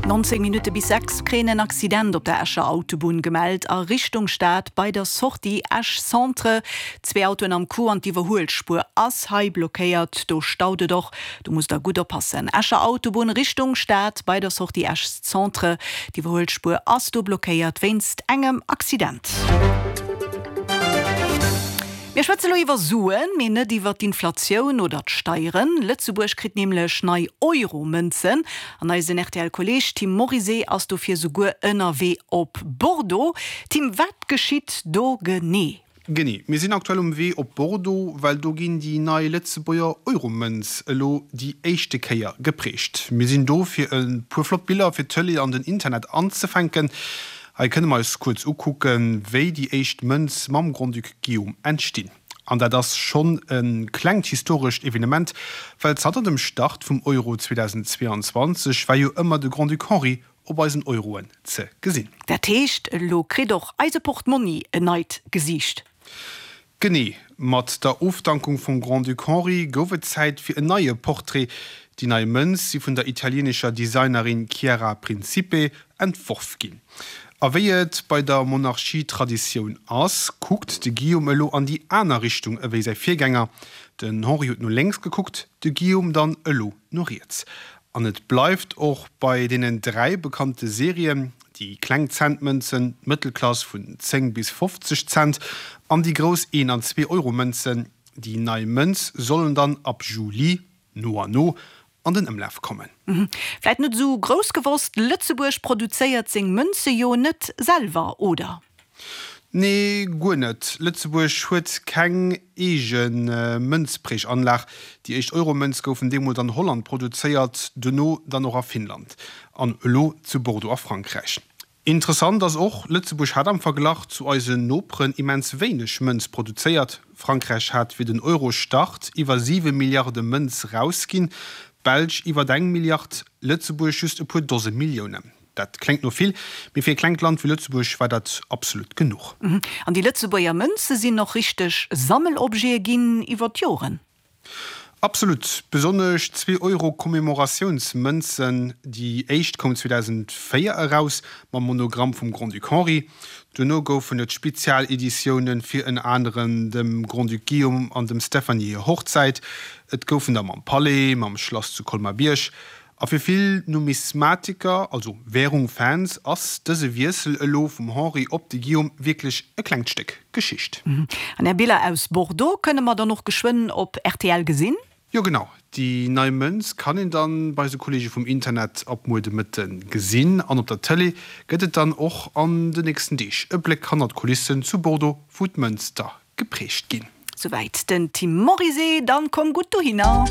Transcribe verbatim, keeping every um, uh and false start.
Nonzéng Minutte bis sechs kréien en Accident op der Escher Autobunn gemellt a Richtung Stad bei der Sortie Esch Centre. Zwee Autoen am Coup an d'Iwwerhuelspuer ass hei blockéiert. Do staut et och, do musst der gutt oppassen. Escher Autobunn Richtung Stad bei der Sortie Esch Centre, d'Iwwerhuelspuer ass do blockéiert wéinst engem Accident. Mir schwätze lo iwwer Suen, mee net iwwer d'Inflatioun oder d'Steieren. Lëtzebuerg kritt nämlech nei Euro-Mënzen an eisen R T L-Kolleeg Tim Morizet ass dofir souguer ënnerwee op Bordeaux. Tim, wat geschitt do genee? Genee, mir sinn aktuell um Wee op Bordeaux, well do ginn déi nei Lëtzebuerger Euromënz elo déi éischte Kéier geprägt. Mir sinn do fir e puer flott Biller fir d'Tëlee an den Internet anzefänken. Hei kënne mer eis kuerz ukucken, wéi déi éischt Mënz mam Grand-Duc Guillaume entstinn. An dat ass schonn e klengt historescht Evenement, well zanter dem Start vum Euro zweedausendzweeanzwanzeg war jo ëmmer de Grand-Duc Henri op eisen Euroen ze gesinn. Dat heescht, elo kritt och eise Portmonni en neit Gesiicht? Genee, mat der Ofdankung vum Grand-Duc Henri gouf et Zäit fir en neie Portrait. Déi nei Mënz si vun der italienescher Designerin Chiara Principe entworf ginn. A wéi et bei der Monarchie Traditioun ass, kuckt de Guillaume elo an déi aner Richtung ewéi säi Virgänger. Den Henri huet no lénks gekuckt, de Guillaume dann elo no riets. An et bleift och bei deenen dräi bekannte Serien, déi kleng Cent-Mënzen, d'Mëttelklass vun zéng bis fofzeg Cent an déi grouss een an zwee Euro-Mënzen. Déi nei Mënz sollen dann ab Juli no an no an den Ëmlaf kommen. Vläit net esou grouss gewosst, Lëtzebuerg produzéiert seng Mënze jo net selwer, oder? Nee, guer net. Lëtzebuerg huet keng eege Mënzpräganlag. Déi éischt Euromënz goufen deemools an Holland produzéiert, dono dann och a Finnland an elo zu Bordeaux a Frankräich. Interessant ass och, Lëtzebuerg hat am Verglach zu eisen Noperen immens wéineg Mënz produzéiert. Frankräich hat fir den Eurostart iwwer siwe Milliarde Mënz rausginn, d'Belsch iwwer eng Milliard, Lëtzebuerg just e puer Dose Milliounen. Dat kléngt no vill, mee fir e klengt Land wéi Lëtzebuerg war dat absolut genuch. An déi Lëtzebuerger Mënze sinn och richteg Sammelobjete ginn iwwer d'Joren. Absolut. Besonnesch zwee Euro Commemoratiounsmënzen. Déi éischt koum zweedausendvéier eraus, mam Monogramm vum Grand-Duc Henri. Duerno goufen et Spezialeditioune fir ënner anerem dem Grand-Duc Guillaume an dem Stéphanie hir Hochzäit. Et goufen der mam Palais, mam Schlass zu Colmar-Bierg. A fir vill Numismatiker, also Wärung-Fans, ass dëse Wiessel elo vum Henri op de Guillaume wierklech e klengt Stéck Geschicht. An Är Biller aus Bordeaux kënne mer dann och geschwënn op R T L gesinn? Jo genau, déi nei Mënz kann een dann bei eise Kollege vum Internet ab muer de Mëtte gesinn an op der Tëlee gëtt et dann och an de nächsten Deeg e Bléck hannert d'Kulissen zu Bordeaux, wou d'Mënz da geprägt ginn. Souwäit den Tim Morizet, dann komm gutt dohinner.